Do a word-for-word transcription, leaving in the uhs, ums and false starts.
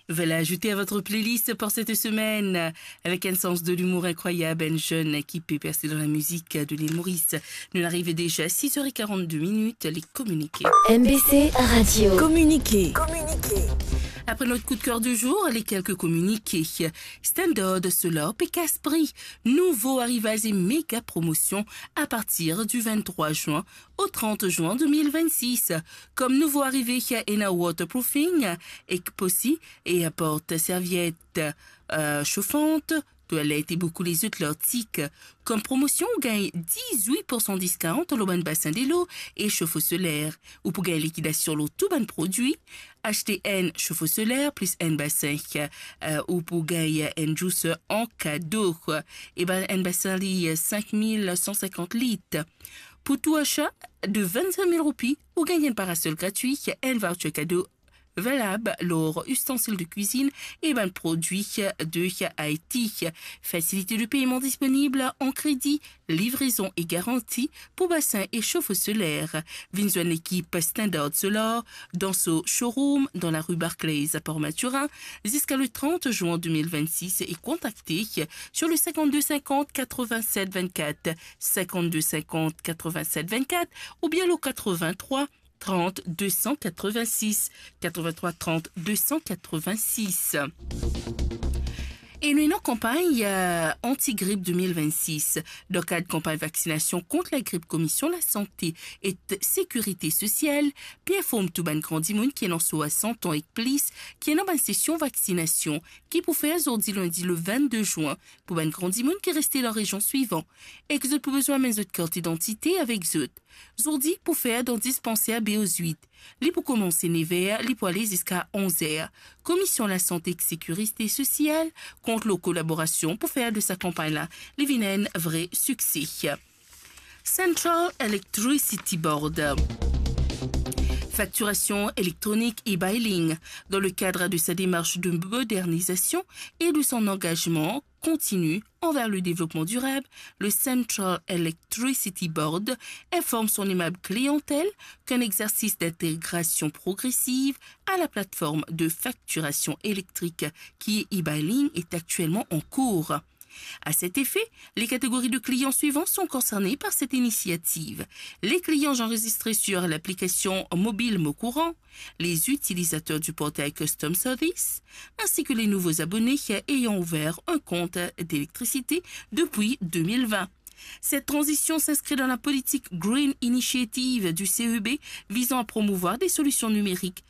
Voilà, ajoutez à votre playlist pour cette semaine, avec un sens de l'humour incroyable, un jeune qui peut percer dans la musique de l'île Maurice. Nous arrivons déjà à six heures et quarante-deux minutes, les communiqués. M B C Radio. Communiqué. Après notre coup de cœur du jour, les quelques communiqués. Standard Solar pe kas pri. Nouvo arivaz e méga promotion à partir du vingt-trois juin au trente juin deux mille vingt-six. Kom nouvo arive, ena waterproofing, ek posi, e aport serviet, euh, shofant, twalet e boukou lezot lartik. Kom promosion, ou gagn dix-huit pour cent discount lor bann basin delo e shofo soler. Ou pou gagn likidasion lor tou bann prodwi. Aste enn shofo soler plis enn basin, euh, ou pou gagn enn juicer an kado. E bann enn basin li, euh, cinq mille cent cinquante litres. Pour tout achat de vingt-cinq mille roupies, ou gagn enn parasol gratwi, enn voucher kado valab lor ustensil de kwizinn e bann prodwi de Haïti. Facilité de paiement disponible en crédit, livraison et garantie pour bassin et chauffe-eau solaire. Vinn zwenn lekip Standard Solar dan so showroom dan larue Barclays à Port Mathurin ziska le trente juin deux mille vingt-six e kontakte sur le cinquante-deux cinquante quatre-vingt-sept vingt-quatre, cinquante-deux cinquante quatre-vingt-sept vingt-quatre oubien le quatre-vingt-trois trente deux cent quatre-vingt-six, quatre-vingt-trois trente deux cent quatre-vingt-six. E nou ena kanpagn, euh, anti-grip deux mille vingt-six. Dan kad kanpagn vaksinasion kont lagrip, Komision Lasante ek Sekirite Sosial pe inform tou bann gran dimoun ki ena swasan an ek plis ki ena bann sesion vaksinasion ki pou fer zordi, lindi le vingt-deux juin, pou bann gran dimoun ki reste dan rezion swivan, ek zot pou bizin amenn zot kart idantite avek zot. Zordi pou fer dan dispanser B O huit. Li pou koumans nef er, li pou ale ziska onz er. Komision Lasante ek Sekirite Sosial kont lor kolaborasion pou fer de sa kanpagn la, li vinn enn vre sikse. Central Electricity Board. Facturation électronique e-billing. Dans le cadre de sa démarche de modernisation et de son engagement continu envers le développement durable, le Central Electricity Board informe son aimable clientèle qu'un exercice d'intégration progressive à la plateforme de facturation électrique qui est e-billing est actuellement en cours. À cet effet, les catégories de clients suivantes sont concernées par cette initiative. Les clients enregistrés sur l'application mobile Mon Courant, les utilisateurs du portail Customer Service, ainsi que les nouveaux abonnés ayant ouvert un compte d'électricité depuis deux mille vingt. Cette transition s'inscrit dans la politique Green Initiative du C E B visant à promouvoir des solutions numériques